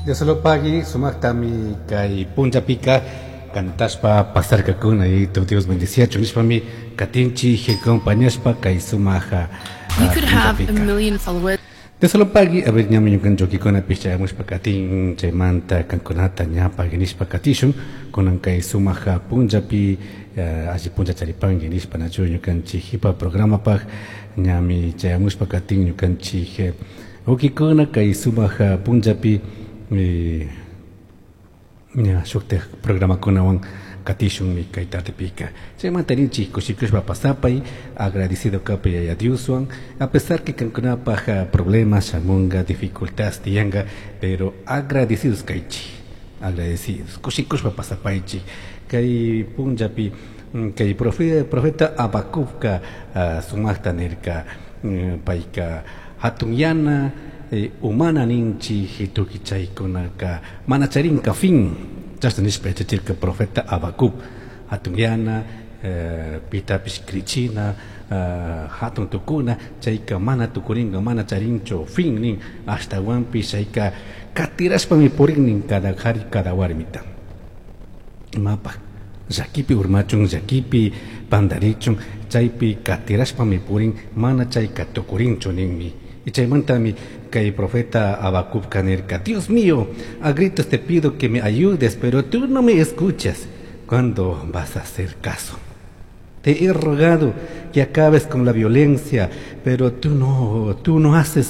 Dioslopagui sumaktami kay punllapika cantashpa pasarkakuna y tu Dios bendiciachun nishpami katinchik acompañashpa kay sumaja You could have a million followers. Dioslopagui, a ver, ñami ñukanchukikunapish chayamushpa katin chaymanta kankunata ñapagui nishpa katishun kunan kay sumaja punllapi alli punlla charipanki nishpa nachu ñukanchik hipa programapaj ñami chayamushpa katin ñukanchik ukikuna kay sumaja punllapi ña shuktik programakunawan katishunmi kay tardepika. Chaymanta rinchik kushikushpa pasapay agradecido kapay Yaya Dioswan a pesar que kankunapaj problemas shamunga dificultades tiyanka, pero agradecidos kaychik, agradecidos kushikushpa pasapaychik. Kay punllapi kay profeta Habacucka sumakta nirka, payka hatunyana umana ninchik tukuy chaykunaka mana charinka fin, chashna nishpa yachachirka profeta Habacuc. Hatunyana pitapish krichina hatun tukuna chayka mana tukurinka, mana charinchu fin nin, ashtawanpish chayka katirashpami purin nin cada kari cada warmita. Imapaj llakipi urmachun, llakipi pandarichun, chaypi katirashpami purin, mana chayka tukurinchu ninmi. Y chaymantami kay profeta Habacucka nirka: Dios mío, a gritos te pido que me ayudes, pero tú no me escuchas. ¿Cuándo vas a hacer caso? Te he rogado que acabes con la violencia, pero tú no haces